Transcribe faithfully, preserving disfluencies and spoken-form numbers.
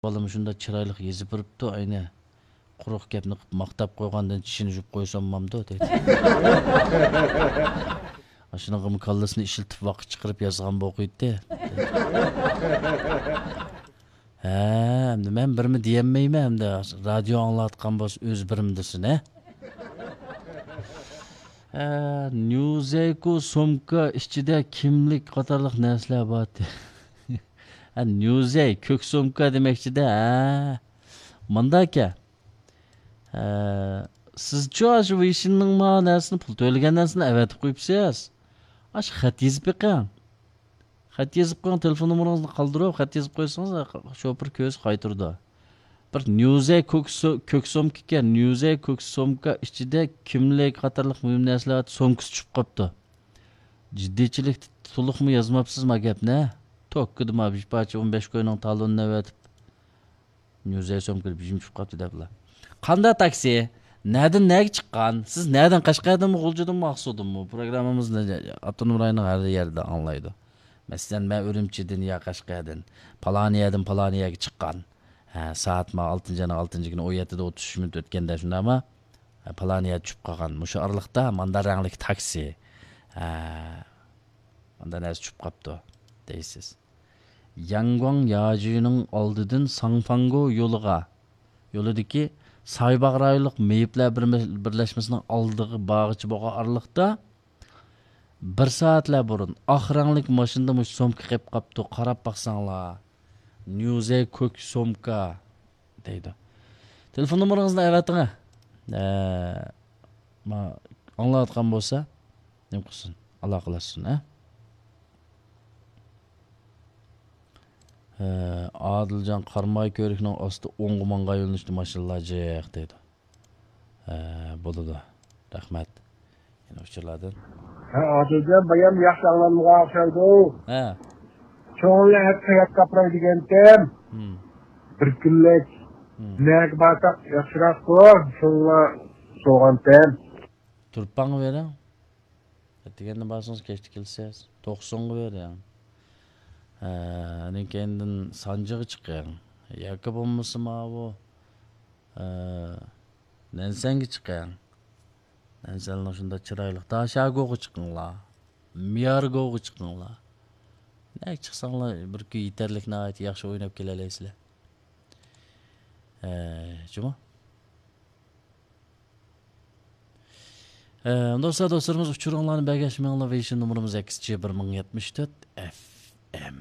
بالىمۇ شۇنداق چىرايلىق يېزىپ بېرىپتۇ، ئەينى قۇرۇق گەپنى قىلىپ ماختاپ قويغاندىن چىشىنى يۇيۇپ قويسا بولمامدۇ دەيدۇ. ئاشۇنىڭغىمۇ كاللىسىنى ئىشلىتىپ ۋاقىت چىقىرىپ يازغان بولغىيتتى. ھە، ئەمدى مەن بىرمۇ دېيەلمەيمەن، ئەمدى رادىيو ئاڭلاۋاتقان بولسا ئۆزى بىرمۇ دېسۇن، ھە؟ ھە، نيۇزەيكۇ سومكا ئىچىدە كىملىك قاتارلىق نەرسىلەر بار. ھە، نيۇزەي، كۆك سومكا دېمەكچىدە، ھە. مانداكەن. ھە، سىزچۇ ئاشۇ ۋېيشىننىڭ ما نەرسىنى، پۇل تۆلىگەن نەرسىنى ئەۋەتىپ قويۇپسىز. ئاشۇ خەت يېزىپ بېقىڭ. خەت يېزىپ قويۇڭ، تېلېفون نومۇرىڭىزنى قالدۇرۇپ، خەت يېزىپ قويسىڭىز، شوپۇر كۆرسە قايتۇرىدۇ. بىر نيۇزەي كۆك سو-، كۆك سومكا ئىكەن، نيۇزەي كۆك سومكا ئىچىدە كىملىك قاتارلىق مۇھىم نەرسىلەر، سومكىسى چۈشۈپ قاپتۇ. جىددىيچىلىك تولۇقمۇ يازماپسىز ما گەپنى؟ توككىدىما بىر پارچە ئون بەش كوينىڭ تالونىنى ئەۋەتىپ، نيۇزەي سومكىدا بىژىم چۈشۈپ قاپتۇ دەپلا. قانداق تاكسى؟ نەدىن نەگە چىققان؟ سىز نەدىن؟ قەشقەردىنمۇ، غۇلجىدىنمۇ، ئاقسۇدىنمۇ؟ پروگراممىمىزنى ئاپتونوم رايوننىڭ ھەر يەردە ئاڭلايدۇ. مەسىلەن، مەن ئۈرۈمچىدىن يا قەشقەردىن، پالانى يەردىن پالانى يەرگە چىققان. ھە، سائەت ما ئالتىنچى ئاينىڭ ئالتىنچى كۈنى ئون يەتتىدە ئوتتۇز ئۈچ مىنۇت ئۆتكەندە شۇنداقما؟ ھە، پالانى يەردە چۈشۈپ قالغان. مۇشۇ ئارىلىقتا ماندا رەڭلىك تاكسى. ھە، ماندا نەرسە چۈشۈپ قاپتۇ، دەيسىز. ياڭگۇاڭ ياجۈنىڭ ئالدىدىن ساڭفاڭگو يولىغا، يولىدىكى سايباغ رايونلۇق مېيىپلەر بىرمە-، بىرلەشمىسىنىڭ ئالدىغا بارغىچە بولغان ئارىلىقتا، بىر سائەتلەر بۇرۇن ئاق رەڭلىك ماشىنىدا مۇشۇ سومكا قېلىپ قاپتۇ، قاراپ باقساڭلار. نيۇزەي كۆك سومكا دەيدۇ. تېلېفون نومۇرىڭىزنى ئەۋەتىڭە. ئە، ما-، ئاڭلاۋاتقان بولسا، نېمە قىلسۇن؟ ئالاقىلەشسۇن، ئە؟ ئە، ئادىلجان قاراماي كۆۋرۈكنىڭ ئاستى ئوڭغا ماڭغان يۆنىلىشتە ماشىنىلار جىق دەيدۇ. ھە، بولىدۇ. رەھمەت. يەنە ئۇچۇرلاردىن. ھە، ئادىلجان، بايام ياخشى ئاڭلانمىغان ئوخشايدۇ. ھە. چوڭلار ھەپتە ياتقاپراي دېگەنتىم. ھىم. بىر كۈنلۈك. ھىم. نەگە بارساق ياخشىراقتۇ؟ شۇڭلا سوغانتىم. تۇرپانغا بېرىڭ. ئەتىگەندە بارسىڭىز، كەچتە كېلىسىز. توقسۇنغا بېرىڭ. ھە، ئاندىن كېيىندىن سانجىغا چىقىڭ. ياكى بولمىسا ماۋۇ، ھە، نەنسەنگە چىقىڭ. نەنسەننىڭ شۇنداق چىرايلىق داشاگوغا چىقىڭلار. ميارگوغا چىقىڭلار. نەگە چىقساڭلار بىر كۈن يېتەرلىك ناھايىتى ياخشى ئويناپ كېلەلەيسىلەر. ھە، جۇمۇ. ئە، دوستلار، دوستلىرىمىز ئۇچۇرۇڭلارنى بەرگەچ مېڭىڭلار، ۋېيشىن نومۇرىمىز ئەكسىچە بىر مىڭ يەتمىش تۆت ئەف ئەم.